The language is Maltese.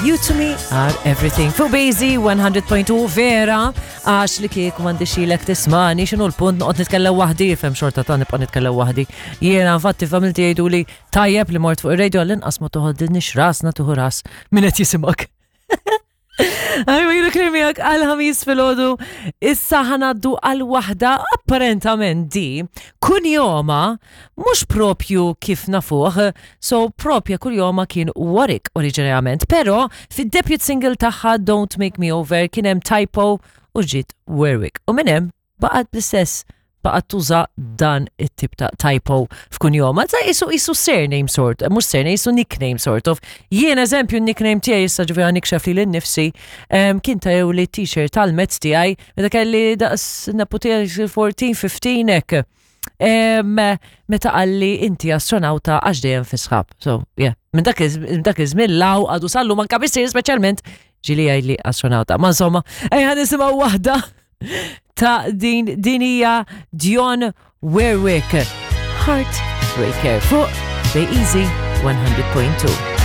You to me are everything. Fuq Bazy 100.2 vera, għax li kieku m'għandi xilek tismani, xinu l-punt noqgħod nitkellem waħdi, fem xorta ta' nibqa' nitkellem waħdi. Jiena infatti familti jgħidu li tajjeb li mort fuq ir-radio għall-inqas ma toħodilniex rasna tuħu ras min qed jisimgħek. Għajma jilu krimijak għal-ħamis fil-ħodu. Issa ħanaddu għal-wahda apparentament di kunjoma mux propju kif nafuħ, so propja kunjoma kien Warwick oriġinarjament, pero fid-debut single tagħha Don't Make Me Over kien hemm typo u ġiet Warwick. U minn hemm baqgħet bl-istess baqgħet tuża dan it-tip ta' typo f'kunjoma. Ta' isu isu surname sort, mhux surname, isu nickname sort of. Jien eżempju nickname tiegħi issa ġifieri nikxef li l-nifsi kien ta' jew li t-t-shirt tal-mezz tiegħi meta kelli daqs neputi 14, 15 hekk. Meta qalli inti astronauta għax dejjem fi sħab. So, yeah. Minn dak iż-żmien law għadu sallu manka missier speċjalment ġili jgħidli astronauta. Ma insomma, ejja nisimgħu waħda ta' din din hija Dion Warwick. Heartbreaker fuq Bay Easy 100.2.